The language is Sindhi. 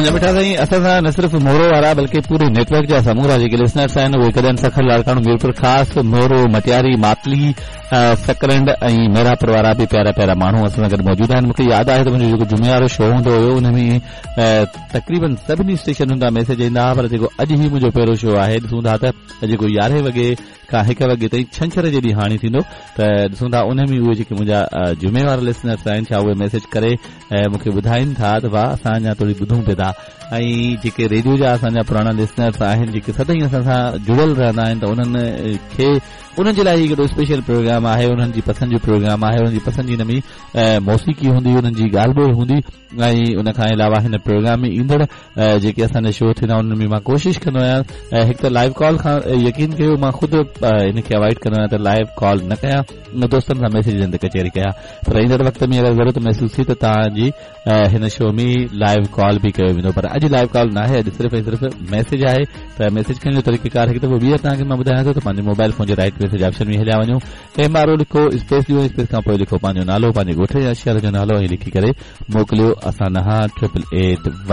منهنجا مٺا سائين اسان سان نه صرف مورو وارا بلڪه پوري نيٽ ورڪ جا سمورا جيڪي لسنرس آهن اهي ڪڏهن سکر لاڙڪاڻو ميرپور خاص مورو مٽياري ماتلي سڪرنڊ ۽ محرابپور وارا به پيارا پيارا ماڻهو اسان سان گڏ موجود آهن مونکي ياد آهي ته منهنجو جيڪو جمعي وارو شو هوندو هيو ان ۾ تقريبن سڀني اسٽيشنن تان ميسيج ايندا هئا پر جيڪو اڄ هي منهنجو پهريون شو آهي ڏسون ٿا ته جيڪو يارهين وڳي کان هڪ وڳي تائين ڇنڇر جي ڏينهن هاڻي ٿيندو ته ڏسون ٿا ان ۾ اهي جيڪي منهنجا جمعي وارا لسنرس آهن ڇا اهي ميسيج ڪري مون کي ٻڌائين ٿا ته واهه اسان اڃا توڙي ٻڌون پئي ٿا ۽ جيڪي ريڊيو جا اسان جا پراڻا لسنرس آهن جيڪي سدائين اسان سان جڙيل رهندا آهن ته انهن کي انهن جي لاء هي هڪڙو اسپيشل پروگرام آهي انهن جي پسند جو پروگرام آهي انهن جي پسند جي هن ۾ موسيقي هوندي انهن جي ڳالهه ٻولهه هوندي ۽ ان کان علاوه هن پروگرام ۾ ايندڙ جيڪي اسان جا شو ٿيندا انهن ۾ مان ڪوشش ڪندو آهيان هڪ ته لائيو ڪال کان يقين ڪيو مان خود ان کي اوائڊ ڪندو آهيان ته لائيو ڪال نه ڪيان دوستن سان ميسيجن تي ڪچهري ڪيان پر ايندڙ وقت ۾ اگر ضرورت محسوس ٿي ته توهان جي هن شو ۾ لائيو ڪال به ڪيو ويندو پر اڄ لائيو ڪال ناهي اڄ صرف ۽ صرف ميسيج آهي ته ميسيج ڪرڻ جو طريقه ڪار هڪ دفعو ٻيهر توهان کي مان ٻڌايان ٿو ته پنهنجي موبائل فون جي رائٽ ميسيج آپشن ۾ هليا وڃو ايم آر او لکو اسپيس ڏيو اسپيس کان پوء لکو پنهنجو نالو پنهنجي ڳوٺ يا شهر جو نالو ۽ لکي ڪري موڪليو اسان ڏانهن 8881.